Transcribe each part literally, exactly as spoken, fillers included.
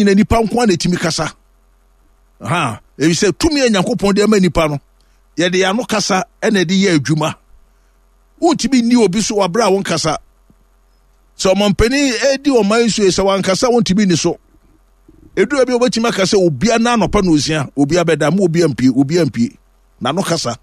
Nyina nipa nko a na ɛtumi kasa ha, ɛfiri sɛ tumi a Nyankopɔn de ama nipa no, yɛde yɛn ano kasa ɛna ɛde yɛ adwuma. Wontumi nni obi so wɔ abere a wonkasa. Sɛ ɔmampanin ɛdi ɔman so yi, sɛ wankasa, wontumi nni so. Ɛduru bi a wobɛtumi aka sɛ obia na anɔpa na osia, obia bɛda ma obia mpie, obia mpie n'ano kasa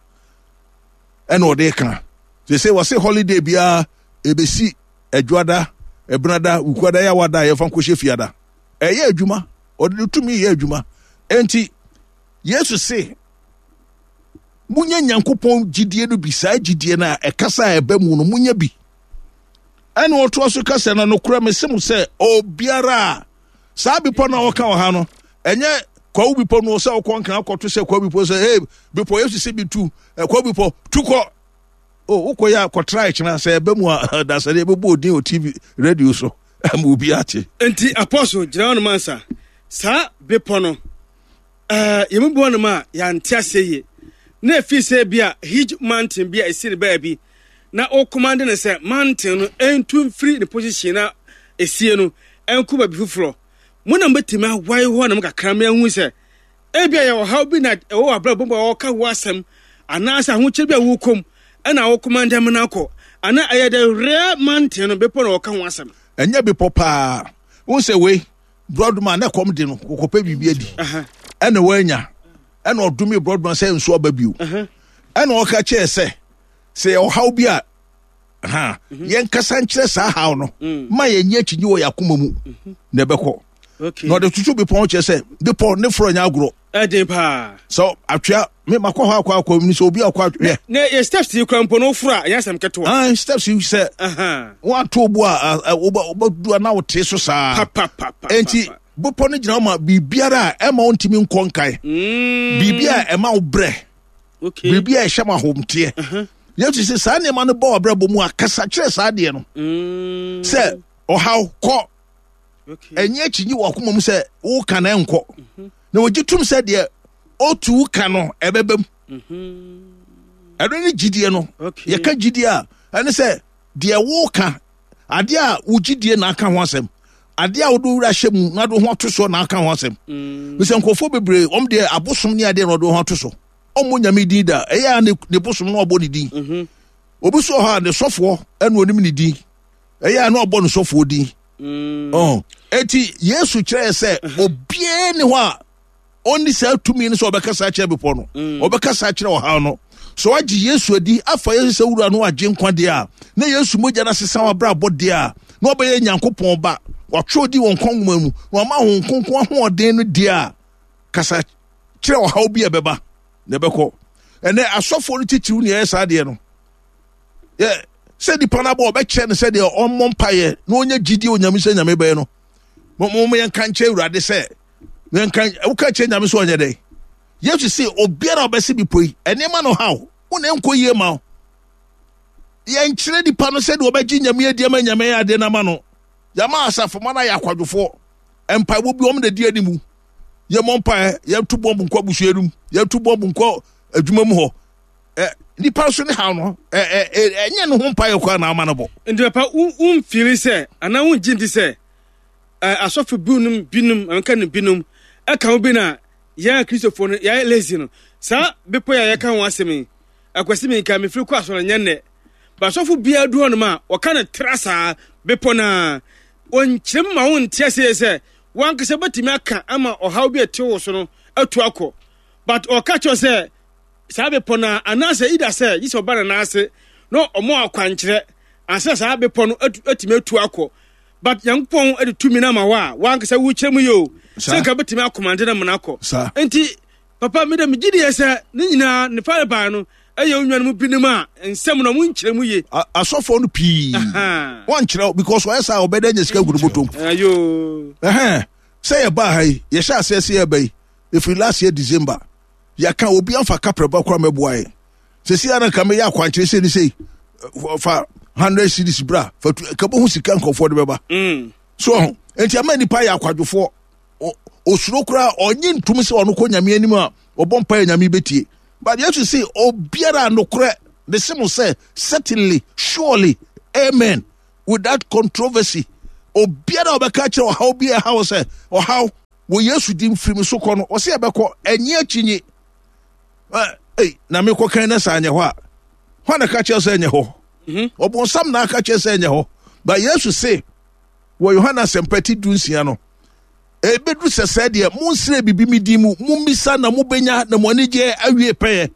ɛna ɔde ka. Sɛ sɛ wɔse holiday biara ɛbɛsi Adwuada, Ɛbenada, Wukuada, Yawada a yɛmfa nkɔhyɛ Fiada, ɛyɛ adwuma. Ɔde ne tumi yɛ adwuma. Enti Yesu se munya Nyankopɔn gyidie no bi. Saa gyidie no a ɛkasa a ɛba mu no, munya bi. Ɛna ɔtoa so kasa na nokorɛ mese mo sɛ obiara a saa bepɔ no a wɔka wɔ ha no, ɛnyɛ Kwawu Bepɔ no sɛ wokɔ Nkran akɔto sɛ Kwawu Bepɔ sɛ hey bepɔ, Yesu sɛ bi tu, Kwawu Bepɔ tu kɔ o, wokɔ yɛ akɔtra ɛkyena sɛ ɛbɛ mu a, dasɛde ɛbɛbɔ odin wɔ T V, radio so ama obi ate. Nti Apostle, gyina hɔ nom ansa. Saa bepɔ no, ɛɛ yɛn mu bi wɔ nom a yɛante aseɛ yie na efi sɛ bi a huge mountain bi a esi ne baabi na o command no sɛ mountain no ntu mfiri ne position na esie no ɛnkɔ baabi foforɔ. Mo na mobɛtumi awae hɔ nom kakra ma ahu sɛ ebi a yɛ ɔhaw bi na ɛwɔ wɔ abrabɔ mu a wɔka ho asɛm, anaasɛ ahokyere bi a wɔkɔm ɛna wo command no akɔ, anaa ɛyɛ the real mountain no, bepɔ na wɔka ho asɛm? Ɛnyɛ bepɔ paa. Wohu sɛ wei borɔdoma na ɛkɔm de no, kɔkɔpɛ biribi adi ɛna woanya, ɛna ɔdome borɔdoma sɛ nso aba bio, ɛna ɔka kyerɛ sɛ sɛ yɛ ɔhaw bi a ha, yɛnkasa nkyerɛ saa haw no ma yɛnyɛ akyinyi wɔ yɛ akoma mu na ɛbɛkɔ. Okay. Na ɔde tutu bepɔ ho kyerɛ sɛ bepɔ ne forɔ nyɛ agorɔ. Ɛden paa. Sɛ atwea me makɔ hɔ akɔ akɔ mu sɛ obi akɔ atwea. Na yɛ steps yi kura mpo no woforo a, ɛnyɛ asɛm ketewa. Ah, steps yi sɛ Aha. woato bo a, wobɛdu a na wote so saa. Papapapa. Enti bepɔ no gyina hɔ ma biribiara a ɛma wontumi nkɔ nkae. Mm. Biribi a ɛma wo brɛ. Okay. Biribi a ɛhyɛ ma ahomteɛ. Yesu sɛ saa nneɛma no bɔ w'abrabɔ mu a, kasa kyerɛ saa adeɛ no. Mm. Sɛ ɔhaw kɔ. Okay. Ɛnyɛ akyinyi wɔ akoma mu sɛ woka na ɛnkɔ. Na wɔgye tom sɛ deɛ ɔtu wo ka no ɛbɛba mu. Ɛno ne gyidie no. Okay. Yɛka gyidie a, ɛne sɛ deɛ woka, adeɛ a wo gyidie na aka ho asɛm, adeɛ a wode wo werɛ ahyɛ mu na wode wo ho ato soɔ na aka ho asɛm. Mm. Sɛ nkurɔfoɔ bebree, wɔn deɛ abosom ne adeɛ na wɔde wɔn ho ato so. Ɔmmɔ Nyame din da. Ɛyɛ a ne, ne bosom na ɔbɔ ne din. Mhm. Obi so wɔ hɔ a ne sɔfoɔ ɛna onim ne din. Ɛyɛ a na ɔbɔ ne sɔfoɔ din. Mm. Ɔn. Eti Yesu kyerɛɛ sɛ obiara ni hɔ a ɔnni saa tumi no sɛ ɔbɛkasa akyerɛ bepɔ no. Ɔbɛkasa akyerɛ ɔhaw no. Sɛ wagye Yesu adi afa Yesu sɛ wura no agye nkwa deɛ a, na Yesu mogya no asesa w'abrabɔ deɛ a, na ɔbɛyɛ Nyankopɔn ba. Watwerɛ di wɔn nkwa nwoma mu na wama Honhom Kronkron ahoɔden no deɛ a, kasa kyerɛ ɔhaw bi a ɛbɛba na ɛbɛkɔ. Ɛnɛ asɔfoɔ no titiriw ne ɛyɛ saa deɛ no. Yɛ sɛ nipa no abɔ ɔbɛkyerɛ no sɛdeɛ ɔmmɔ mpaeɛ na ɔnya gyidie Onyame sɛ Nyame bɛyɛ no. Mo mo yɛnka nkyerɛ Awurade sɛ yɛnka, woka kyerɛ Nyame sɛ ɔnyɛ dɛn? Yesu se obiara a ɔbɛse bepɔ yi, ɛnneɛma no haw wo na ɛnkɔ yie ma wo. Yɛnkyerɛ nipa no sɛdeɛ ɔbɛgye Nyame adi ama Nyame ayɛ adeɛ no ama no. Yɛama asafomma no ayɛ akwadwofoɔ. Mpaebɔ bi wɔn na di animu. Yɛmmɔ mpaeɛ, yɛnto bɔmbo nkɔ abusua no mu, yɛnto bɔmbo nkɔ adwuma mu hɔ. Ɛ, nipa nso ne haw no, ɛ, ɛ, ɛ, ɛnyɛ ne ho mpaeɛ koraa na ama no bɔ. Nti papa, wo, womfili sɛ, anaa wongye ndi sɛ, ɛ, asɔfo binom, binom, menka no binom, ɛka ho bi na yɛn Akristofoɔ no, yɛayɛ lazy no. Saa bepɔ yi a yɛka ho asɛm yi, Akwasi menka, mefiri kɔ asɔre nyɛ nnɛ. Ba asɔfo biara du hɔnom a, wɔka no tra saa bepɔ no a, wɔnkyerɛ mu ma wonte aseɛ sɛ wankasa bɛtumi aka ama ɔhaw bi a ɛte wo so no atu akɔ. But ɔka kyerɛ sɛ saa bepɔ no a, anaasɛ ida sɛ gye sɛ ɔba ne nan ase na ɔmo akwankyerɛ ansa saa bepɔ no atumi atu akɔ. But Nyankopɔn de tumi no ama wo a wankasa wokyerɛ mu yɛ o sɛ nka bɛtumi akɔmande no amana akɔ. Nti papa me dɛ megye diɛ sɛ ne nyinaa ne farebae no ɛyɛ wo nuanom binom a nsɛm no ɔmo nkyerɛ mu ye. Asɔfoɔ no pii wɔnkyerɛ because ɔyɛ saa ɔbɛda anya sika gu no bɔtɔm. Ayo. Ɛhɛn sɛ yɛbaa ha yi, yɛhyɛ aseɛ sɛ yɛba yi ɛfiri last year December, yɛka obi amfa kaprɛba koraa mɛboa yɛn. Sɛsi ara nka meyɛ akwankyerɛ sei ne sei, fa hundred series bra, fa tu ka bɔ ho sika nkurɔfoɔ de bɛba. Mm. So ɔho nti ama nipa yɛ akwadwofoɔ. Osuro koraa ɔnye ntum sɛ ɔno kɔ Nyame anim a ɔbɔ mpaeɛ Nyame bɛtie. But Yesu se obiara nokorɛ ne se mo sɛ certainly, surely, amen, without controversy, obiara a ɔbɛka kyerɛ ɔhaw bi a ɛhaw sɛ ɔhaw Wɔ Yesu din firi me so kɔ no, ɔsɛ ɛbɛkɔ, ɛnyɛ akyinye. Ei, na mekɔ kan na sɛ anyɛ hɔ a, hwan na ka kyerɛ sɛ ɛnyɛ hɔ? Mhm. Ɔbonsam na aka kyerɛ sɛ ɛnyɛ hɔ. Ba Yesu se wɔ Yohane Asɛmpa ti du nsia no, ɛbɛduru sɛ sɛ deɛ monsrɛ biribi me din mu, mommisa na mobɛnya na mo anigyeɛ awie pɛyɛ.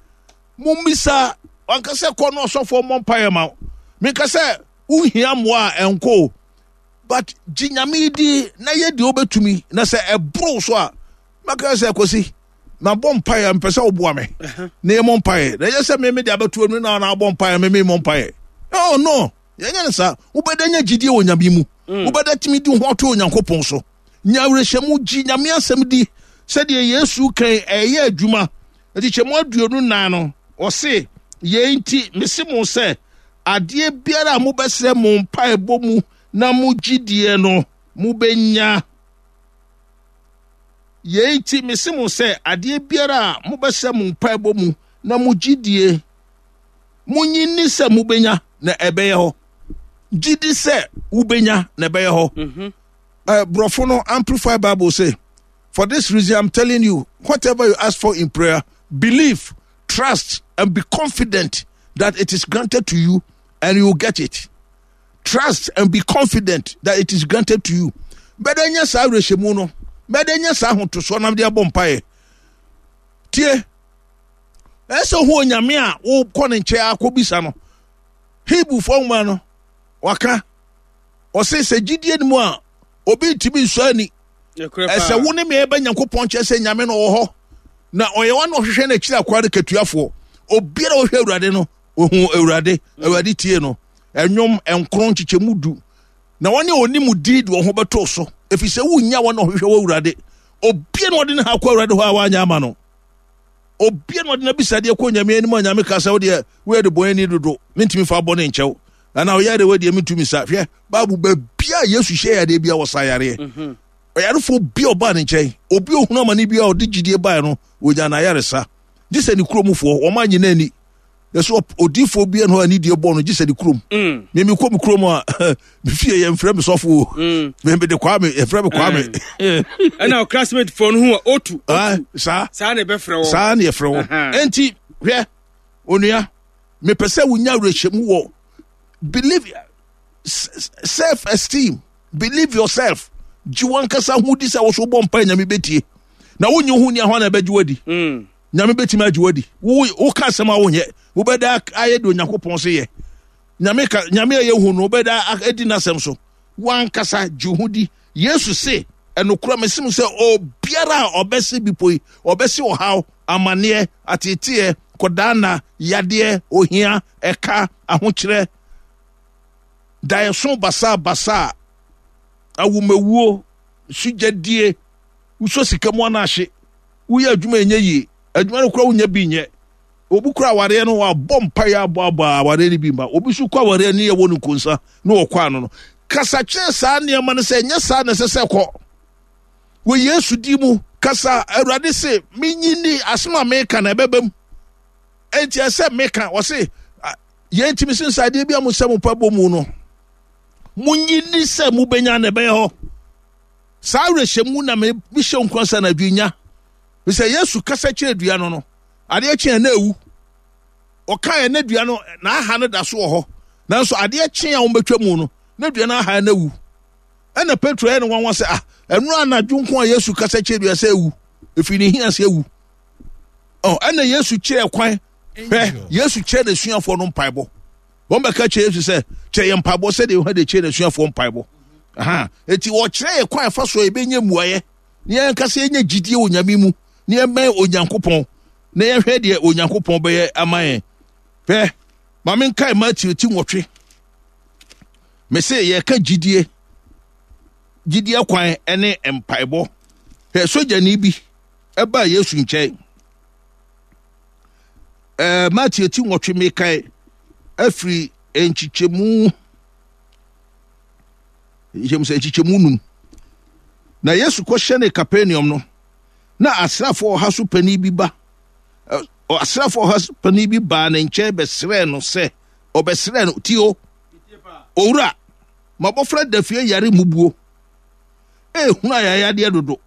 Mommisa, wanka sɛ kɔ no ɔsɔfoɔ mmɔ mpaeɛ ma wo. Menka sɛ wohia mmoa a ɛnkɔ o, but gye Nyame di na yɛ deɛ wobɛtumi, na sɛ ɛboro so a, mɛka sɛ Kwasi, mabɔ mpaeɛ, mpɛ sɛ woboa me na yɛmmɔ mpaeɛ, na ɛyɛ sɛ me mede abɛto anu na na abɔ mpaeɛ, me memmɔ mpaeɛ. Oh no, yɛnyɛ no saa. Wobɛda nya gyidie wɔ Nyame mu, wobɛda tumi di ho ato Onyankopɔn so. Nya awerɛhyɛmu, gye Nyame asɛm di sɛdeɛ Yesu kan ɛyɛ adwuma. Nkyekyɛmu aduonu nan no, ɔse, yei nti mese mo sɛ, adeɛ biara a mobɛsrɛ mo mpaebɔ mu na mo gyidie no, mobɛnya. Yei nti mese mo sɛ, adeɛ biara a mobɛsrɛ mo mpaebɔ mu na mo gyidie, monyi nni sɛ mobɛnya na ɛbɛyɛ hɔ. Gyidi sɛ wobɛnya na ɛbɛyɛ hɔ. Mhm. Uh, Brɔfo no Amplified Bible say, for this reason I'm telling you, whatever you ask for in prayer, believe, trust, and be confident that it is granted to you and you will get it. Trust and be confident that it is granted to you. Bɛdɛ nyɛ saa awerɛhyɛmu no, bɛdɛ nyɛ saa ahotosoɔ na de abɔ mpaeɛ. Tie, ɛsɛ ho Onyame a wokɔ ne nkyɛn akɔbisa no. Hebrewfoɔ nwoma no, waka, ɔse sɛ gyidie no mu a, obi ntumi nsɔ ani. Ɛsɛ wo ne me ɛbɛ Nyankopɔn nkyɛn sɛ Nyame no ɔwɔ hɔ, na ɔyɛ wɔn a ɔhwehwɛ no akyiri akwaa no katuafoɔ. Obiara a ɔhwɛ Awurade no, ohu Awurade. Awurade tie no. Ɛnwom nkron nkyekyɛmu du. Na wɔn a wɔnim di de wɔn ho bɛto so, ɛfiri sɛ wonnya wɔn a ɔhwehwɛ wɔ Awurade. Obiara na ɔde ne ha kɔ Awurade hɔ a wanyɛ ama no. Obiara na ɔde n'abisadeɛ kɔ Nyame anim a Nyame ka sɛ, wodeɛ woyɛ de bɔne dodo, mentumi fa bɔne nkyɛw. Anaa ɔyɛ de wodeɛ mentumi sa. Hwɛ, Bible baabi a Yesu hyɛ yadeɛ bi a wɔsa yareɛ. Mhm. Ɔyarefoɔ bi a ɔbaa ne nkyɛn, obi a ohunu amane bi a ɔde gyidie baeɛ no, wɔnya n'ayaresa. Gye sɛ ne kuromfoɔ, wɔn annye no anni. Yɛsɛ odiifoɔ bi no a ne die bɔ no, gye sɛ ne kurom. Mm. Me mekɔ me kurom a, me fie yɛmfrɛ me sɔfo o. Mm. Me mede Kwame, yɛfrɛ me Kwame. Ɛna o classmate foɔ no ho a, otu, Ah, otu. saa. Saa na ɛbɛfrɛ wɔn. Saa na yɛfrɛ wɔn. Aha. Enti, hwɛ, onua, mepɛ sɛ wonya awerɛhyɛmu wɔ believe, self esteem, believe yourself. Gye wankasa ho di sɛ wo so wobɔ mpae Nyame bɛtie. Na wonye ho ni ahɔ na ɛbɛgye wadi. Mm. Nyame bɛtumi agye wadi. Wo wo ka asɛm a wonyɛ, wobɛda ayɛ de Onyankopɔn se yɛ. Nyame ka Nyame a yɛhu no wobɛda adi n'asɛm so. Wankasa gye ho di. Yesu se ɛnokora mesim sɛ obiara a ɔbɛse bepɔ yi, ɔbɛse ɔhaw, amanneɛ, ateeteɛ, kɔdaana, yadeɛ, ohia, ɛka, ahokyerɛ, daeɛso basaa basaa, awomawuo, sugyadie, wosɔ sika mu anaahye, woyɛ adwuma ɛnyɛ yie, adwuma no kora wonya bi nyɛ. Obi kora awareɛ no wabɔ mpaeɛ abɔ abɔ a awareɛ no bi mma. Obi nso kɔ awareɛ no yɛ wɔ no nkonsa na wɔkɔ ano no. Kasa kyerɛ saa nneɛma no sɛ ɛnyɛ saa na ɛsɛ sɛ kɔ. Wɔ Yesu di mu, kasa Awurade se menyi ni asɛm a meka na ɛbɛba mu. Enti ɛsɛ meka, wɔse yɛn ntumi se nsa adeɛ bi a mo sɛ mo pa bɔ mu no, monyi ni sɛ mobɛnya na ɛbɛyɛ hɔ. Saa awerɛhyɛmu na mehyɛ nkwa sɛ anadwo nya. Sɛ Yesu kasa kyerɛ dua no no, adeɛ kye a na ewu. Ɔka yɛ na dua no na aha no da so wɔ hɔ. Nanso adeɛ kye a wɔbɛtwa mu no, na dua no aha na ewu. Ɛna Petro yɛ ne nwanwa sɛ, ah, ɛno anadwo nko a Yesu kasa kyerɛ dua sɛ ewu. Efi ne hia sɛ ewu. Ɔ, ɛna Yesu kyerɛ kwan. Hwɛ, Yesu kyerɛ n'asuafoɔ no mpaebɔ. Wɔn bɛka kyerɛ Yesu sɛ, kyerɛ yɛn mpaebɔ sɛdeɛ Yohane de kyerɛ n'asuafoɔ mpaebɔ. Aha, eti wɔkyerɛ yɛ kwan fa so a yɛbɛnya mmuaeɛ. Na yɛn ankasa yɛnya gyidie wɔ Nyame mu, na yɛmmɛn Onyankopɔn, na yɛhwɛ deɛ Onyankopɔn bɛyɛ ama yɛn. Hwɛ, ma menkae Matthew ti nwɔtwe. Mese yɛka gyidie, gyidie kwan ne mpaebɔ. Hwɛ, sogyani bi ɛbaa Yesu nkyɛn. Ɛɛ, Matthew ti nwɔtwe mekae afiri nkyekyɛmu, nkyɛmu sɛ nkyekyɛmu num. Na Yesu kɔhyɛne Capernaum no, na asraafoɔ ɔha so panin bi ba. Ɛ, asraafoɔ ɔha so panin bi baa ne nkyɛn bɛsrɛɛ no sɛ, ɔbɛsrɛɛ no, tio, owura, m'abɔfra da fie yare mmubuo. Ehunu ayayadeɛ dodo.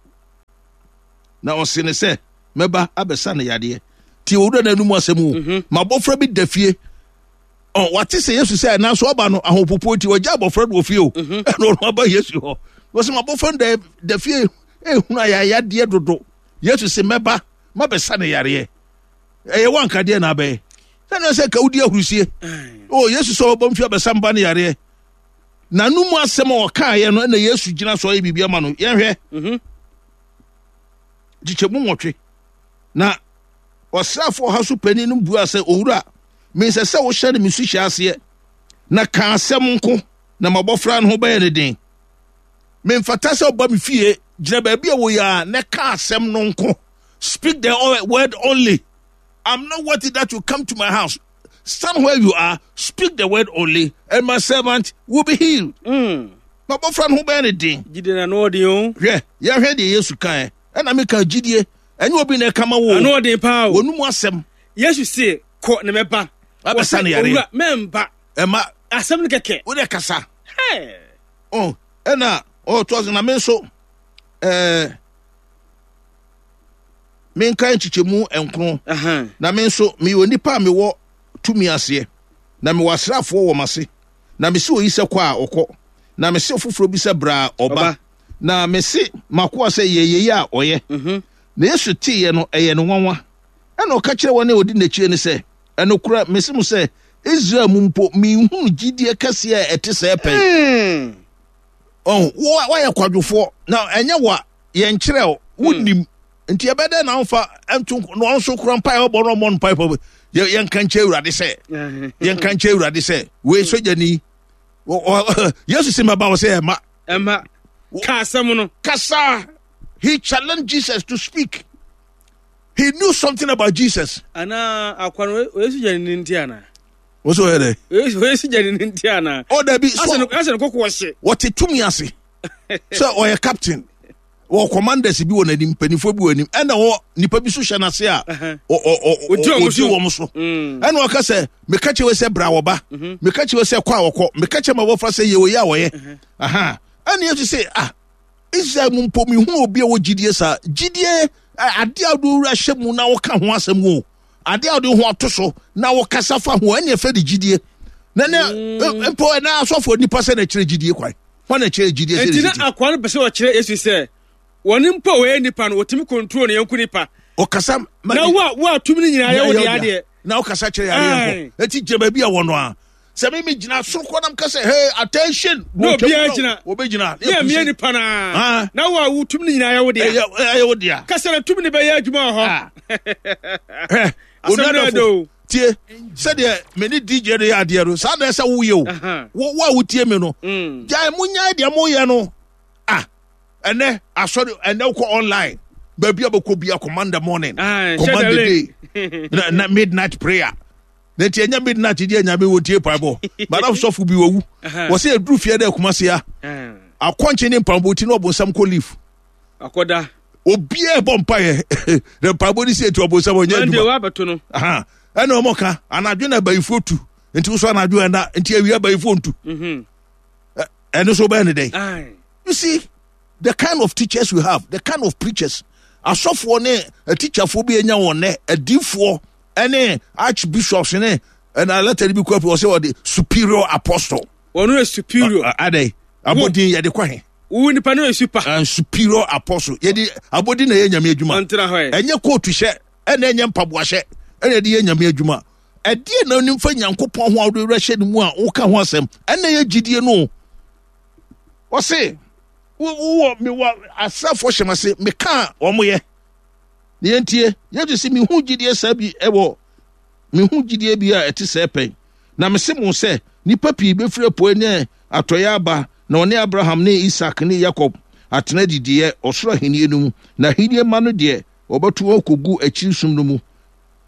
Na ɔse ne sɛ, mɛba abɛsa no yadeɛ. Tie owura no anum asɛm o. Mhm. M'abɔfra bi da fie. Ɔ, wate sɛ Yesu sɛ nanso ɔba no ahopopoɔ nti ɔgya abɔfra no wɔ fie o. Mhm. Ɛna ɔno aba Yesu hɔ. Wɔsɛ m'abɔfra no da, da fie ehunu ayayadeɛ dodo. Yesu sɛ mɛba mabɛsa no yareɛ. Ɛyɛ wankadeɛ na abɛyɛ. Sɛnea sɛ ka wodi ahurusie. O Yesu sɛ ɔbɔ mfi abɛsa mba no yareɛ. N'anum asɛm a ɔkaeɛ no ɛna Yesu gyina so ɔyɛ biribi ama no. Yɛnhwɛ. Mhm. Kyekyɛmu nwɔtwe. Na ɔsraafoɔ ɔha so panin no buaa sɛ, Owura, mensɛ sɛ wohyɛne me suhyɛ aseɛ, na ka asɛm nko, na m'abɔfra no ho bɛyɛ no den. Memfata sɛ ɔba me fie, gyina baabi a wɔyɛ a, na ka asɛm no nko. Speak the word only. I'm not worthy that you come to my house. Stand where you are, speak the word only, and my servant will be healed. Mm. M'abɔfra no ho bɛyɛ no den. Gyidie na ano ɔden o. Hwɛ, yɛhwɛ deɛ Yesu kaeɛ. Ɛna meka gyidie, ɛnyɛ obi na ɛka ma wo. Ano ɔden paa o. Wɔn mu asɛm. Yesu se, kɔ na mɛba. Abɛsa no yareɛ. Owura, mɛmba. Ɛma. Asɛm no kɛkɛ. Wo deɛ kasa. Hey. Oh, ɛna ɔtoa so na me nso ɛɛ menka nkyekyɛmu nkron. Na me nso meyɛ onipa a mewɔ tumi aseɛ, na mewɔ asraafoɔ wɔ m'ase. Na mese oyi sɛ kɔ a, ɔkɔ. Na mese ɔfoforɔ bi sɛ bra a, ɔba. Na mese m'akoa sɛ yɛ yei a, ɔyɛ. Mhm. Na Yesu teeɛ no, ɛyɛ no nwanwa. Ɛnna ɔka kyerɛɛ wɔn a wɔdi n'akyire no sɛ, Ɛnokorɛ, mese mo sɛ, Israel mu mpo, menhunuu gyidie kɛseɛ a ɛte sɛɛ pɛn. Mm. Ɔn, wo woayɛ kwadwofoɔ, na ɛnyɛ wo a, yɛnkyerɛ wo, wonnim. Nti ɛbɛyɛ dɛn na womfa nto na ɔno nso kora mpae ɔbɔ no ɔmmɔ no mpae pɔ yɛ yɛnka nkyɛ Awurade sɛ yɛnka nkyɛ Awurade sɛ wei sogyani Yesu si mɛba wɔ sɛ ɛma ɛma ka asɛm no kasa. He challenged Jesus to speak. He knew something about Jesus. Ana akwa no oyɛ sogyani ne nti ana? Wọ́n sọ yẹ dẹ. Oyɛ sogyani ne nti ana? Ọ dẹbi so. Asɛ no kɔkɔ ɔhye. Wɔte tumi ase. Sɛ ɔyɛ captain. Wɔ commanders bi wɔ n'anim, mpanimfoɔ bi wɔ anim, ɛna wɔ nipa bi so hyɛ n'ase a ɔdi wɔn so. Ɛna ɔka sɛ, meka kyerɛ sɛ bra wɔba, meka kyerɛ sɛ kɔ a wɔkɔ, meka kyerɛ ma wɔfa sɛ yɛ oyɛ a wɔyɛ. Ɛna Yesu sɛ, ah, Israel mu mpo mehunu obi a wɔ gyidie saa. Gyidie, adeɛ a wode wura hyɛ mu na woka ho asɛm o, adeɛ a wode ho ato so na wokasa fa ho, ɛne ɛfɛ de gyidie. Na ne mpo ɛna asɔfoɔ nipa sɛ na ɛkyerɛ gyidie kwan. Wɔn na ɛkyerɛ gyidie sɛ Enti na akoa no pɛ sɛ ɔkyerɛ Yesu sɛ wɔn mpo a wɔyɛ nipa no wɔtumi control ne yɔnko nipa. Ɔkasa na wo a wo a tumi no nyinaa yɛ wo deɛ adeɛ. Na ɔkasa kyerɛ yareɛ nko. Eti gyina baabi a wɔ no a. Sɛ me me gyina soro kɔ nam ka sɛ hey attention. Na obiara gyina. Wɔbɛgyina. Ne ɛmea nipa naa. Na wo a wo tumi no nyinaa yɛ wo deɛ. Ɛyɛ wo deɛ. Kasa na tumi no bɛyɛ adwuma wɔ hɔ. Hɛ Asɛm no ɛdɛ o. Tie, sɛdeɛ me ne D J no yɛ adeɛ no, saa na ɛsɛ woyɛ o. Wo wo a wotie me no, gyae mo nyae deɛ moyɛ no. Ah, ɛnɛ asɔre, ɛnɛ wokɔ online, baabi a bɛkɔ bia command the morning, command the day, na, na midnight prayer. Na nti ɛnyɛ midnight deɛ nyame wɔ tie paebɔ. Madam sɔfo bi wawu. Wɔ sɛ ɛduru fie dɛ Kumasi a, akɔnkye ne mpaebɔ ti na ɔbonsam kɔ leave. Akɔda. Obiara bɔ mpaeɛ na mpaebɔ ne si eti ɔbonsam ɔnyɛ adwuma. Monday wabɛto no. Ɛna ɔmo ka anadwo na abayifoɔ tu nti wosɔ anadwo ɛna nti awia abayifoɔ ntu. Ɛno so bɛyɛ ne dɛn? You see the kind of teachers we have, the kind of preachers, asɔfoɔ ne atikyafoɔ bi anya wɔn nɛ, adiifoɔ ɛne archbishops ne ɛna letter bi kɔ ɔsɛ ɔde superior apostle. Wɔn yɛ superior. Adɛ abɔdin yɛde kɔ he. Wo nipa no yɛ super. And superior apostle. Yɛde abɔdin na yɛ nyame adwuma. Ɔntena hɔ yɛ. Ɛnyɛ kootu hyɛ ɛna ɛnyɛ mpaboa hyɛ ɛna yɛde yɛ nyame adwuma. Ɛdeɛ na onim fa Nyankopɔn ho a wode werɛ hyɛ ne mu a woka ho asɛm. Ɛna yɛ gyidie no. Ɔse wowɔ mewɔ asraafoɔ hyɛ m'ase meka a wɔn yɛ. Ne yɛntie. Yesu se mehu gyidie saa bi ɛwɔ mehu gyidie bi a ɛte sɛɛ pɛn. Na mese mo sɛ nnipa pii bɛfiri apuei ne atɔeɛ aba na wɔne Abraham ne Isak ne Yakob atena adidiiɛ ɔsoro ahennie no mu, na ahennie mma no deɛ, wɔbɛto wɔn akɔgu akyiri sum no mu.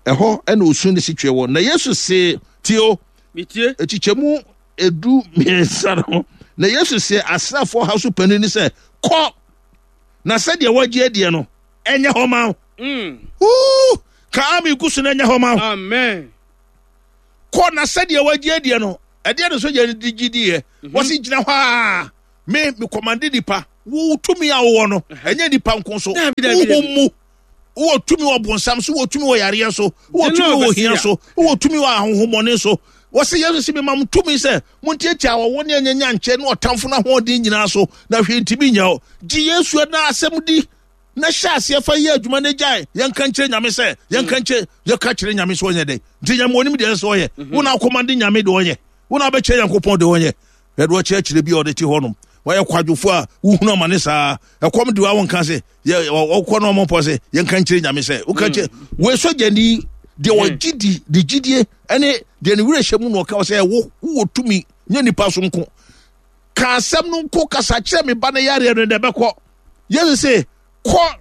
Ɛhɔ na osu ne setweɛ wɔ. Na Yesu see, tie o, Metie. Nkyekyɛmu edu mmiɛnsa no, na Yesu see asraafoɔ ha so panin no sɛ, kɔ, na sɛdeɛ woagye adiɛ no, ɛnyɛ hɔ ma wo. Mm. Woo! Ka ame gu so na ɛnyɛ hɔ ma wo. Amen. Kɔ na sɛdeɛ woagye adiɛ no, ɛdeɛ no sogya no de gye diiɛ. Wɔsi gyina hɔ a, me, me kɔmande nipa. Wo tumi a wowɔ no, ɛnyɛ nipa nko so. Dabi, dabi, Honhom dabi. mu. Wowɔ tumi wɔ bonsam so, wowɔ tumi wɔ yareɛ so, wowɔ tumi wɔ ohia so, wowɔ tumi wɔ ahohommɔne so. Wɔse Yesu se, mema mo tumi sɛ montiatia awɔwɔ ne anyanyankyɛ ne ɔtamfo no ahoɔden nyinaa so, na hwee ntumi nyɛ wo. Gye Yesu na asɛm di na hyɛ aseɛ fa yɛ adwuma na gyae. Yɛnka nkyerɛ Nyame sɛ, yɛnka nkyerɛ, yɛka kyerɛ Nyame sɛ ɔnyɛ dɛn? Nti Nyame onim deɛ ɛsɛ sɛ ɔyɛ. Mhm. Wo na akɔmande Nyame deɛ ɔnyɛ. Wo na abɛkyerɛ Nyankopɔn deɛ ɔnyɛ. Yɛde ɔkyerɛkyerɛ bi a ɔde te hɔnom. Wɔyɛ kwadwofo a wohunu amane saa. Ɛkɔm de wa wonka sɛ ɔkɔ no ɔmɔpɔ sɛ yɛnka nkyerɛ Nyame sɛ woka kyerɛ mm. wei sogyani deɛ mm. ɔgye di de gyidie ɛne deɛ ne werɛ hyɛ mu na ɔka sɛ wo wowɔ tumi nyɛ nipa so nko ka asɛm no nko kasa kyerɛ me ba no yareɛ no na ɛbɛkɔ. Yesu se kɔ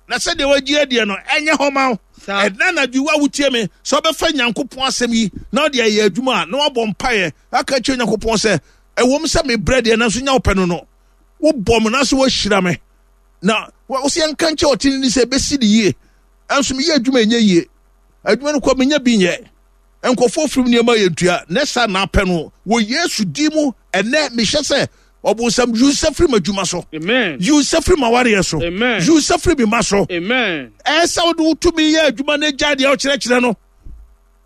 na sɛdeɛ wagye adiɛ no ɛnyɛ hɔ ma wo. Ɛna anadwo wa wotie me sɛ wobɛfa Nyankopɔn asɛm yi na wode ayɛ adwuma a na wabɔ mpaeɛ aka kyerɛ Nyankopɔn sɛ ɛwom sɛ mebrɛ deɛ nanso nya wopɛ no no wobɔ me nanso woahyira me na wo sɛ yɛnka nkyɛ ɔtene ni sɛ ɛbɛsi ne yie ɛnso meyɛ adwuma ɛnyɛ yie adwuma no kɔ menya bi nyɛ nkurɔfoɔ firim nneɛma yɛ ntua na saa na apɛ no wɔ Yesu din mu. Ɛnɛ mehyɛ sɛ ɔbonsam yi nsa firi m'adwuma so, yi nsa firi m'awareɛ so, yi nsa firi me ma so. Ɛyɛ sɛ wode wo tumi yɛ adwuma no agya deɛ ɔkyerɛkyerɛ no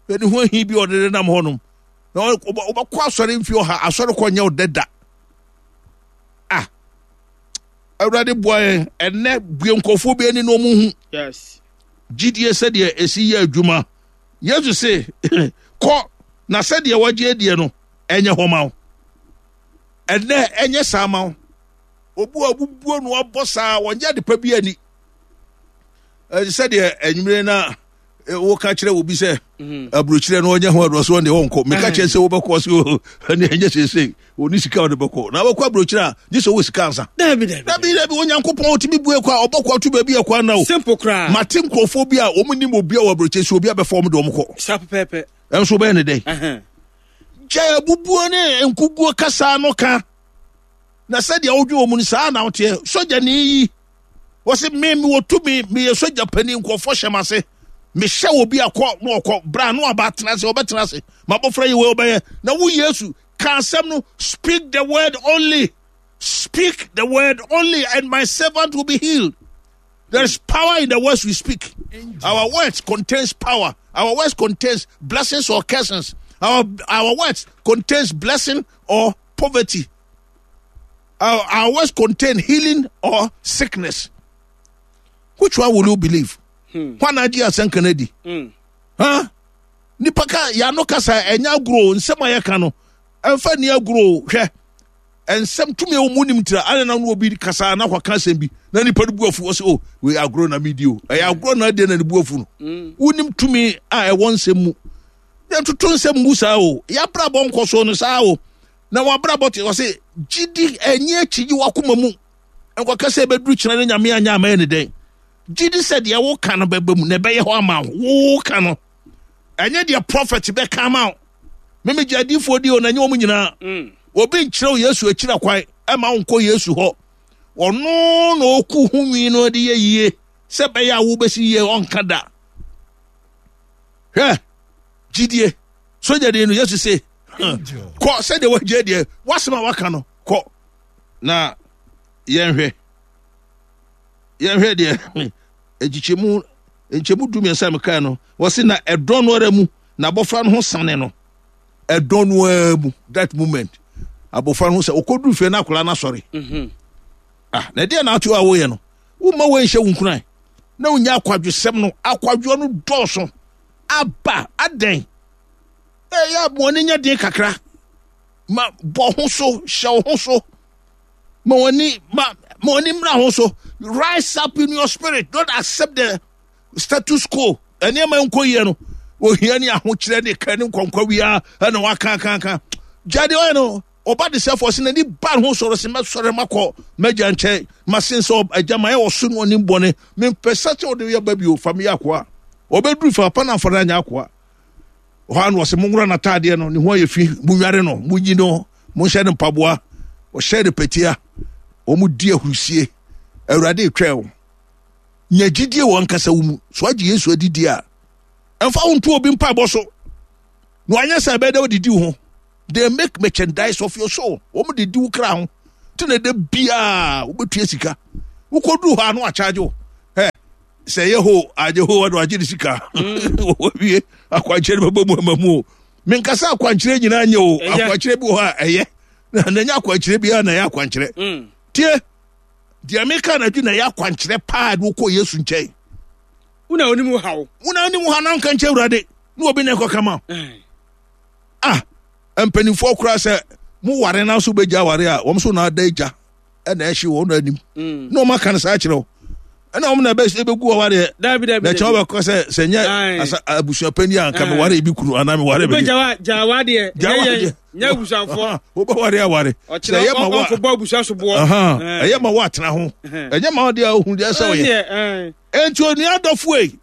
ɛne ho ahi bi ɔde nenam hɔnom na wobɛkɔ asɔre mfie ɔha asɔre kɔ nyɛ wo dɛ da. Ah, Awurade boa yɛn ɛnɛ bue nkurɔfoɔ bi ani na ɔmo hu gyidie sɛdeɛ ɛsi yɛ adwuma. Yesu se kɔ na sɛdeɛ wagye adiɛ no ɛnyɛ hɔ ma wo. Ɛnɛ ɛnyɛ saa ma wo. Obu a obubuo no abɔ saa wɔnyɛ adepa bi ani. Sɛdeɛ anwummere na woka kyerɛ obi sɛ aburokyerɛ no ɔnyɛ ho adoɔ so ɔne ɔnkɔ meka kyerɛ sɛ wobɛkɔ so ɛne ɛnyɛ seesei ɔne sika ɔde bɛkɔ na wobɛkɔ aburokyerɛ a gye sɛ wowɔ sika ansa. Dabi dabi dabi Onyankopɔn ɔtumi bue kɔ a ɔbɔ kɔ ato baabi ɛkɔ ana o. Simple koraa. Mate nkurɔfoɔ bi a wɔn nim obi a wɔ aburokyerɛ so obi abɛfa wɔn de wɔn kɔ. Saa pɛpɛɛpɛ. Ɛnso wobɛyɛ ne dɛn? Gya abubuo ne nkuguo kasa no ka na sɛdeɛ wodwe wɔ mu no saa na woteɛ. Sogyani yi wɔsi me mewɔ tumi meyɛ sogya panin nkurɔfoɔ hyɛ m'ase mehyɛ obi akɔ na ɔkɔ bra na ɔba atena ase ɔbɛtena ase mabɔfra yi wei ɔbɛyɛ na wo Yesu ka asɛm no speak the word only speak the word only and my servant will be healed. There is power in the words we speak. Our words contains power. Our words contains blessings or curses. Our our words contains blessing or poverty. Our, our words contain healing or sickness. Which one will you believe? Hwan agye asɛnka no adi? Huh? Nipa ka yɛano kasa ɛnyɛ agorɔ nsɛm a yɛka no ɛmfa nni agorɔ hwɛ nsɛm tumi a wɔn nim tira ana na obi kasa na akɔka asɛm bi na nipa no bu afu ɔsɛ o wei agorɔ na mi di o ɛyɛ agorɔ na adeɛ na ne bu afu no wonim tumi a ɛwɔ nsɛm mu yɛntoto nsɛm ngu saa o yɛabrabɔ nkɔ so no saa o na wabrabɔ te ɔsɛ gyidi ɛnyɛ akyigye wakoma mu nkɔka sɛ ɛbɛduru kyerɛ ne Nyame anyɛ ama yɛ ne dɛn gyidi sɛ deɛ woka no bɛba mu na ɛbɛyɛ hɔ ama wo woka no ɛnyɛ deɛ prophet bɛka ama wo meme gye adiifoɔ di o na ɛnyɛ wɔn nyinaa obi nkyerɛ Yesu akyira kwan ɛma wo nkɔ Yesu hɔ ɔno na ɔku ho nwi no de yɛ yie sɛ bɛyɛ a wobɛsi yie ɔnka da hwɛ gyidie sogyani no Yesu se kɔ sɛdeɛ wagye deɛ wasɛm a waka no kɔ na yɛnhwɛ yɛnhwɛ deɛ nkyekyɛmu nkyɛmu du mmiɛnsa mekae no wɔse na ɛdɔn no ara mu na abɔfra no ho sane no ɛdɔn no ara mu that moment abɔfra no ho sɛ ɔkɔduru fie na akwadaa no asɔre ah na ɛdeɛ na ato a woyɛ no womma woanhyɛ wo nkuran na wonya akwadwosɛm no akwadwoɔ no dɔɔso aba adɛn ɛyɛ aboɔne nya den kakra ma bɔ ho so hyɛ wo ho so ma w'ani ma ma w'ani mmra ho so rise up in your spirit don't accept the status quo nneɛma nkɔ yie no ohia ne ahokyerɛ ne ka ne nkɔnkɔ wia ɛna waka ka ka gya deɛ ɔyɛ no ɔba de sɛ fɔ sɛ n'ani ba ne ho sɔrɔ sɛ mɛsɔre makɔ mɛgya nkyɛn masen sɛ agya ma yɛ ɔso ne ɔnim bɔne mempɛ sɛ sɛ ɔde yɛ ba bio fa meyɛ akoa ɔbɛduru fa pa na afa no anyɛ akoa ɔhɔ ano ɔsɛ monwora n'ataadeɛ no ne ho ayɛ fi monware no monyi no monhyɛ no mpaboa ɔhyɛ no patia wɔn di ahurusie Awurade twɛn wo nya gyidie wɔ ankasa wo mu so agye Yesu adidi a ɛmfa wo nto obi mpaebɔ so na wanyɛ sɛ ɛbɛyɛ dɛ wodidi wo ho they make merchandise of your soul wɔn de di wo kra ho te na ɛdɛ biara wobɛtua sika wokɔduru hɔ a na wakyagye wo ɛ Sɛ ɛyɛ ho agye ho ɔde wagye ne sika. Wɔwie akwankyerɛ no bɛbɔ mu ama mu o. Menkasa akwankyerɛ nyinaa nyɛ o. Akwankyerɛ bi wɔ hɔ a ɛyɛ. Na ɛnyɛ akwankyerɛ biara na ɛyɛ akwankyerɛ. Mm. Tie, deɛ meka anadwo na ɛyɛ akwankyerɛ paa de wokɔ Yesu nkyɛn. Wona onim wo haw. Wona onim wo haw na nka nkyɛ Awurade na obi na ɛkɔka ma. Ah, mpanimfoɔ koraa sɛ mo ware na so bɛgya aware a wɔn so na ada agya ɛna ɛhye wɔn anim. Mm. Na wɔn aka no saa kyerɛ wo. Ɛna wɔn na ɛbɛgu awareɛ. Dabi dabi. Na kyɛw bɛkɔ sɛ sɛ nyɛ asa abusuapanyin a nka me ware ebi kunu anaa me ware bi. Wobɛgya gya awadeɛ. Gya awadeɛ. Nyɛ abusuafoɔ. Wobɛware aware. Sɛ ɛyɛ ma wa ɔkɔbɔ abusua so boɔ. Ɛyɛ ma wa atena ho. Ɛnyɛ ma ɔdeɛ ohun deɛ sɛ ɔyɛ. Enti onua dɔfo yi,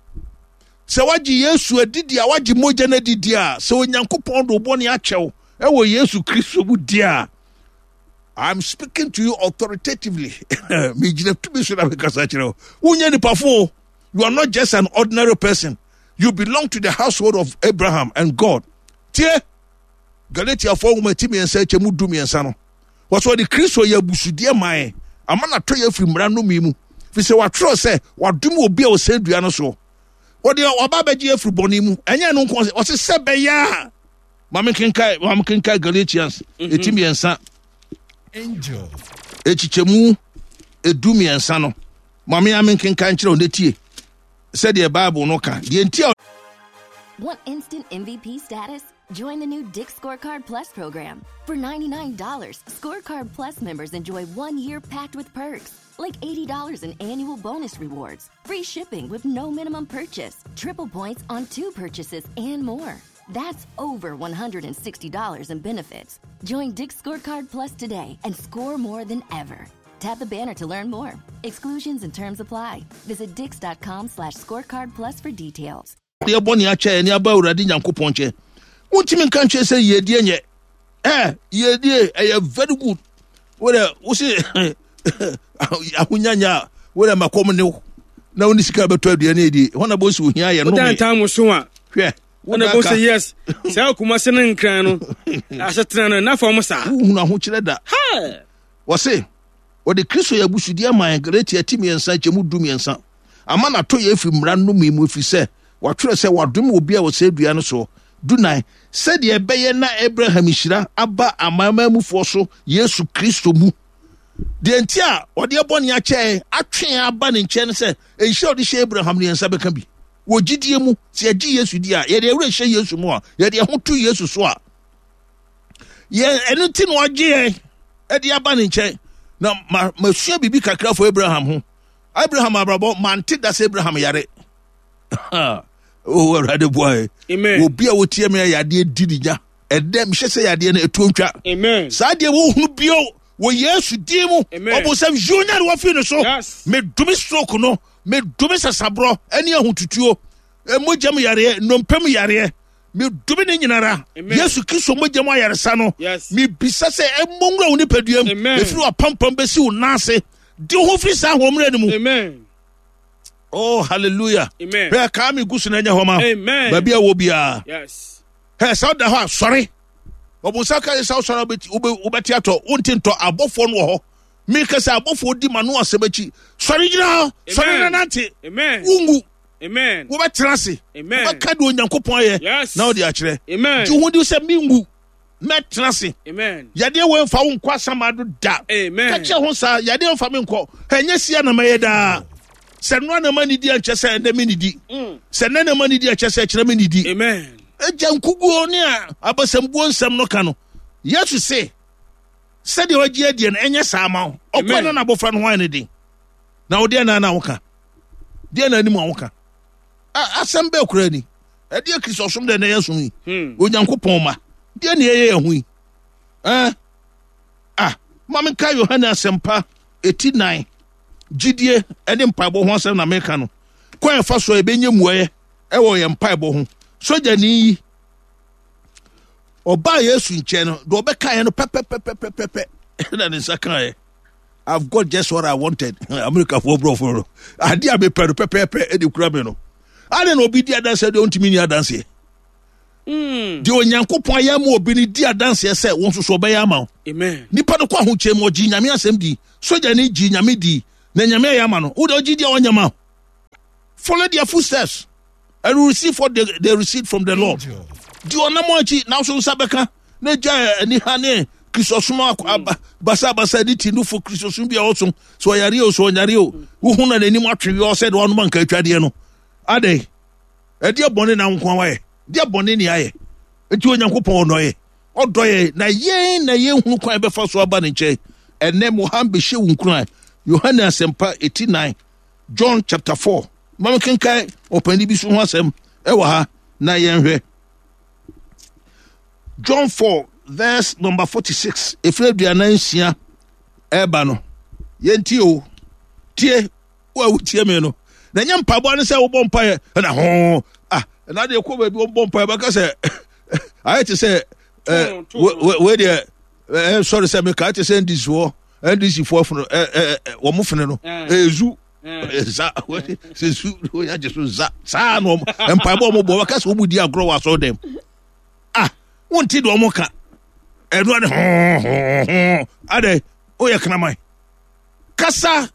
sɛ wagye Yesu adidi a, wagye mogya no adidi a, sɛ Onyankopɔn de wo bɔne akyɛw ɛwɔ Yesu Kristo mu di a, I'm speaking to you authoritatively. Megyina tumi so na mekasa kyerɛ wo. Wonyɛ nipa fo. You are not just an ordinary person. You belong to the household of Abraham and God. Tie, Galatiafoɔ nwoma ti mmiɛnsa akyɛ mu du mmiɛnsa no. Wɔsɛ ɔde Kristo yɛ abusudeɛ ma yɛn, ama no atɔ yɛn afiri mmara nnome mu. Firi sɛ wɔatwerɛ sɛ, wadome obi a ɔsɛn dua no soɔ. Wɔde ɔba abɛgye afiri bɔne mu. Ɛnyɛ ɛno nko, ɔse sɛ bɛyɛ a. Ma menkenkae, ma menkenkae Galatians eti mmiɛnsa. Ekyikyɛmu edu mmiɛnsa no. Ma me a menkenkae nkyerɛ wo na tie sɛdeɛ Bible no ka. Deɛ nti a Want instant M V P status? Join the new Dick's Scorecard Plus program. For ninety-nine dollars, Scorecard Plus members enjoy one year packed with perks, like eighty dollars in annual bonus rewards, free shipping with no minimum purchase, triple points on two purchases, and more. That's over one hundred sixty dollars in benefits. Join Dick's Scorecard Plus today and score more than ever. Tap the banner to learn more. Exclusions and terms apply. Visit dicks.com slash scorecard plus for details. Deɛ bɔne akyɛ ɛne aba Awurade Nyankopɔn nkyɛn. Wontumi nka nkyerɛ sɛ yiedie nyɛ. Eh, yiedie ɛyɛ very good. Wode wo se ahonyanya a wode ma kɔm ne wo na wo ne sika bɛtɔ aduane adi. Hɔ na bɔsi ohia yɛ no. Wodan tam so a. Hwɛ. Wona bɔ sɛ yes. Saa akuma se ne nkran no. Asetena no na fam saa. Wohunu ahokyerɛ da. Wɔse wɔde Kristo yɛ abusudeɛ ma yɛn Galatia ti mmiɛnsa nkyɛmu du mmiɛnsa. Ama n'atɔ yɛ afiri mmara nnome mu ɛfiri sɛ wɔatwerɛ sɛ wɔadome obi a ɔsɛe dua no soɔ. Dunan, sɛdeɛ ɛbɛyɛ na Abraham nhyira aba amanamanmufoɔ so Yesu Kristo mu. Deɛ nti a ɔde bɔne akyɛ atwe aba ne nkyɛn no sɛ nhyira a ɔde hyɛ Abraham no yɛn nsa bɛka bi. Wɔ gyidie mu, sɛ yɛgye Yesu di a, yɛde yɛn werɛ hyɛ Yesu mu a, yɛde yɛn ho to Yesu so a, yɛn ɛno nti na ɔgye yɛn ɛde aba ne nkyɛn. Na ma masua biribi kakra fo Abraham ho. Abraham abrabɔ mante da sɛ Abraham yare. Oh, Awurade boa yɛ. Obi a wotie me a yadeɛ di ne nya. Ɛdɛ mehyɛ sɛ yadeɛ no ɛtuo ntwa. Amen. Saa deɛ wohunu bio wɔ Yesu din mu. Ɔbonsam yiw nya ne wafiri ne so. Medome stroke no, medome sasaborɔ ɛne ahotutuo, mogya mu yareɛ, nnompe mu yareɛ. Medome ne nyinara. Yesu Kristo mogya mu ayaresa no. Mebisa sɛ ɛmmɔ nwura wo nipadua mu. Ɛfiri w'apampam bɛsi wo nan ase. Di ho firi saa ahoɔmmerɛ no mu. Amen. Oh, hallelujah. Amen. Hwɛ kaa me gu so na ɛnyɛ hɔ ma. Amen. Baabi a wɔ biara. Yes. Hɛ sɛ woda hɔ a sɔre. Ɔbonsam ka sɛ wosɔre wobɛte atɔ wonte ntɔ abɔfoɔ no wɔ hɔ. Meka sɛ abɔfoɔ di ma no asɛm akyi. Sɔre gyina hɔ. Sɔre na nante. Amen. Wongu. Amen. Wobɛtena ase. Amen. Wobɛka deɛ Onyankopɔn ayɛ. Yes. Na wode akyerɛ. Amen. Gye ho di sɛ mengu. Mɛtena ase. Amen. Yadeɛ wei mfa wo nkɔ asamado da. Amen. Ka kyerɛ ho saa yadeɛ mfa me nkɔ. Ɛnyɛ sia na mɛyɛ daa. Sɛ nnoa na ma nidi ankyɛ sɛ ɛnɛ me nidi. Sɛ nnɛ na ma nidi ankyɛ sɛ ɛkyerɛ me nidi. Amen. Agya nkuguo ne abasambuo nsɛm no ka no. Yesu se sɛdeɛ wagye adie no ɛnyɛ saa ma wo. Ɔkɔ na n'abɔfra no ho ayɛ ne den. Na wo deɛ na na woka. Deɛ na anim a woka. Asɛm bɛɛ koraa ni. Ɛdeɛ Kristosom dɛ na ɛyɛ som yi. Onyankopɔn ma. Deɛ na ɛyɛ yɛn ho yi. Eh? Ah, ma menka Yohane asɛmpa eti nan. Gyidie ne mpaebɔ ho asɛm na meka no. Kwan ɛfa so a yɛbɛnya mmuaeɛ ɛwɔ yɛn mpaebɔ ho. Sogyani yi, ɔbaa Yesu nkyɛn no, deɛ ɔbɛkaeɛ no pɛpɛpɛpɛpɛ na ne nsa kaeɛ. I've got just what I wanted. America for brofo no. Ade a mepɛ no pɛpɛɛpɛ ɛde kura me no. Ade na obi di adanseɛ deɛ ɔntumi ni adanseɛ. Deɛ Onyankopɔn ayɛ ama obi no di adanseɛ sɛ wɔn nso so ɔbɛyɛ ama wo. Amen. Nipa no kɔ ahokyɛ mu ɔgye Nyame asɛm di. Sogyani gye Nyame di na Nyame ayɛ ama no. Wo deɛ ɔgye di a ɔnyɛ ma wo. Follow their footsteps and you receive what they, they received from the Lord. Di ɔnam akyi na nso nsa bɛka na gya aniha ne kristosom basabasa ne ti nufo kristosom bi a ɔsom so ɔyare o so ɔnyare o wohu na n'anim atwe wi ɔsɛ de ɔnom anka atwadeɛ no adɛn ɛdeɛ bɔne na nko wayɛ deɛ bɔne ne ayɛ nti Onyankopɔn ɔdɔ yɛ ɔdɔ yɛ na yɛn na yɛnhunu kwan bɛfa so aba ne nkyɛn. Ɛnɛ Mohammed bɛhyɛ wo nkuran. Yohane Asɛmpa eti nnan, John chapter four. Ma menkenkan ɔpanin bi so ho asɛm ɛwɔ ha na yɛnhwɛ. John four verse number forty-six. Efiri aduanan nsia ɛreba no. Yɛntie o. Tie wo a wotie me no. Na ɛnyɛ mpaboa ne sɛ wobɔ mpaeɛ ɛna ho ah ɛna deɛ kɔ baabi wɔbɔ mpaeɛ bɛka sɛ ayɛ te sɛ ɛɛ wei deɛ ɛɛ sɔre sɛ meka ayɛ te sɛ N D C foɔ N D C foɔ funu ɛɛ ɛɛ wɔn funu no ɛɛzu za sɛ zu wɔn agye so za saa na wɔn mpaebɔ wɔn bɔ wɔka sɛ wɔn di agorɔ wɔ asɔre dɛm ah wɔn ti deɛ wɔn ka ɛnu ane hɔn hɔn hɔn adɛ oyɛ kraman kasa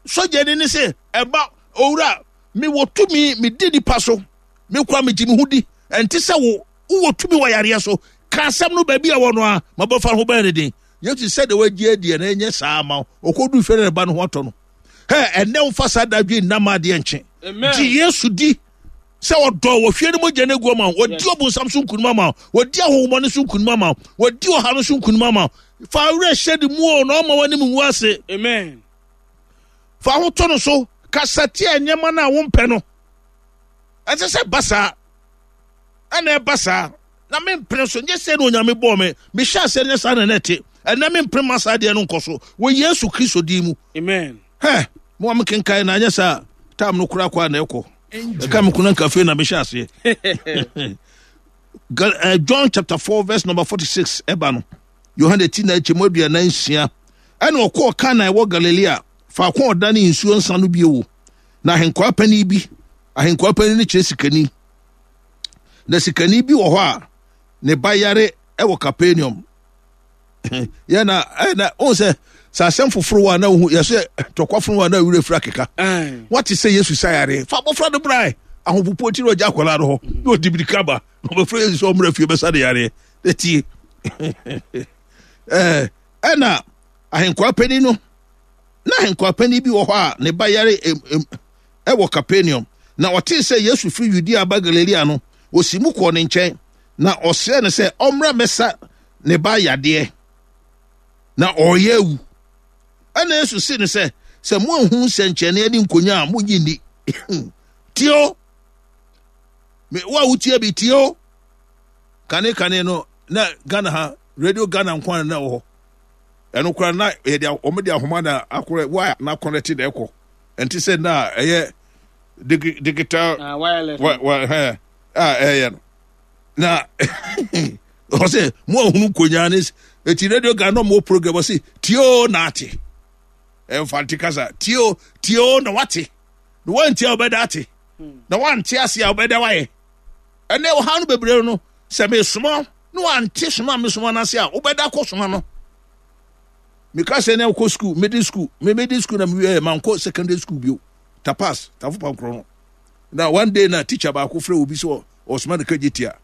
sɔgya ni ne sɛ ɛba owura mi wɔ tumi mi di nipa so mi kura mi gye mi ho di ɛnti sɛ wo wowɔ tumi wɔ yareɛ so ka asɛm no baabi a wɔ no a ma bɔfa ho bɛyɛ ne den. Yesu sɛ de wagye adiɛ na ɛnyɛ saa ma wo ɔkɔdu fɛ ne ba no ho atɔ no. Hɛ ɛnɛ womfa saa dadwe nna ma adeɛ nkye. Gye Yesu di sɛ ɔdɔ wɔhwie no mogya no agu ama wo, wɔdi ɔbonsam so nkonim ama wo, wɔdi ahonhommɔne so nkonim ama wo, wɔdi ɔha no so nkonim ama wo. Fa werɛ hyɛ ne mu o na ɔma w'anim ngu ase. Amen. Fa ho to no so, kasa tia nneɛma no a wompɛ no. Ɛnsɛ sɛ ba saa. Ɛna ɛba saa. Na mempene so, nyɛ sɛ na Onyame bɔɔ me. Mehyɛ aseɛ nyɛ saa na na ɛte. Ɛnɛ mempene ma saa deɛ no nkɔ so. Wɔ Yesu Kristo din mu. Amen. Hɛ, mo a mekenkan na anyɛ saa tam no koraa kɔ a na ɛkɔ. Ɛka me kuna nka afei na mehyɛ aseɛ. John chapter four verse number forty-six ɛba no. Yohane ti na ɛkyɛ mu aduanan nsia. Ɛna ɔkɔɔ Kana ɛwɔ Galilea, faako a ɔdane nsuo nsa no bio. Na ahenkwaa panin bi, ahenkwaa panin no kyerɛ sikani. Na sikani bi wɔ hɔ a ne ba yare ɛwɔ Capernaum. Yɛ na ɛna ohun sɛ sɛ asɛm foforo wɔ a na ohun yɛsɛ tɔkwa foro wɔ a na ewura fira keka. Wate sɛ Yesu sa yare fa abɔfra no bra ahopopo ti na ɔgya akwadaa no hɔ na ɔdi mirika ba na ɔbɛfrɛ Yesu sɛ ɔmmra fie bɛsa ne yareɛ. Etie ɛɛ ɛna ahenkwaa panin no na ahenkwaa panin bi wɔ hɔ a ne ba yare em em ɛwɔ Capernaum. Na ɔtee sɛ Yesu firi Yudea aba Galilea no, osi mu kɔɔ ne nkyɛn na ɔsrɛ no sɛ ɔmmra mmɛsa ne ba yadeɛ na ɔreyɛ awu. Ɛna Yesu se no sɛ, sɛ moanhu nsɛnkyerɛnneɛ ne nkonya a monnye nni. Tie o, me wo a wotie bi tie o. Kane kane no na Ghana ha Radio Ghana nko na ɛwɔ hɔ. Ɛno koraa na yɛde wɔn de ahoma na akorɛ wa na akɔnɛte na ɛkɔ. Ɛnte sɛ na ɛyɛ digital uh, wireless wa wa hɛ a ɛyɛ no. Na ɔsɛ mo ahunu nkonya ne eti Radio Ghana mo program ɔsɛ tie o na ate. Ɛmfante kasa tie o tie o na wate. Na wantie a ɔbɛda ate. Na wante ase a ɔbɛda wayɛ. Ɛnɛ ɔha no bebree no sɛ mesoma na wante soma mesoma no ase a wobɛda kɔ soma no. Meka sɛ na wokɔ school, middle school, me middle school na mewie mankɔ secondary school bio. Tapas, tafo pankorɔ no. Na one day na teacher baako frɛ obi sɛ ɔsoma no kagye tia.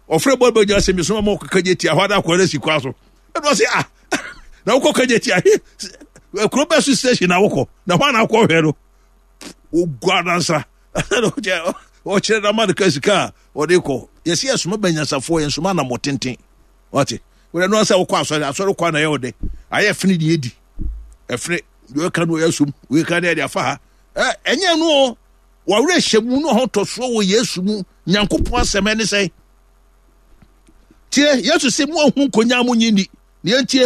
Ɔfrɛ bɔ bɛgya sɛ mesoma ma ɔkɔ kagye tia hɔ ada akɔ no asi kwa so. Ɛna ɔse ah na wokɔ kagye tia he kuro bɛ so station na wokɔ na hɔ na akɔ hwɛ no. Ogua nansa. Ɔkyerɛ na ma no ka sika a ɔde kɔ. Yɛsi yɛsoma banyansafoɔ yɛnsoma anammɔ tenten. Wate? Wọ́n ẹnu asẹ wọ́kọ asọrẹ asọrẹ kọ anayẹ ọdẹ ayẹ ẹfini ni edi ẹfini deɛ ɔka no ɔyɛ som wei ka no ɛde afa ha ɛ ɛnyɛ no o wɔwerɛ hyɛ mu no ho tɔsoɔ wɔ Yesu mu Nyankopɔn asɛm ɛne sɛ tie Yesu sɛ mo ahu nkonya mo nyi ni ne yɛntie.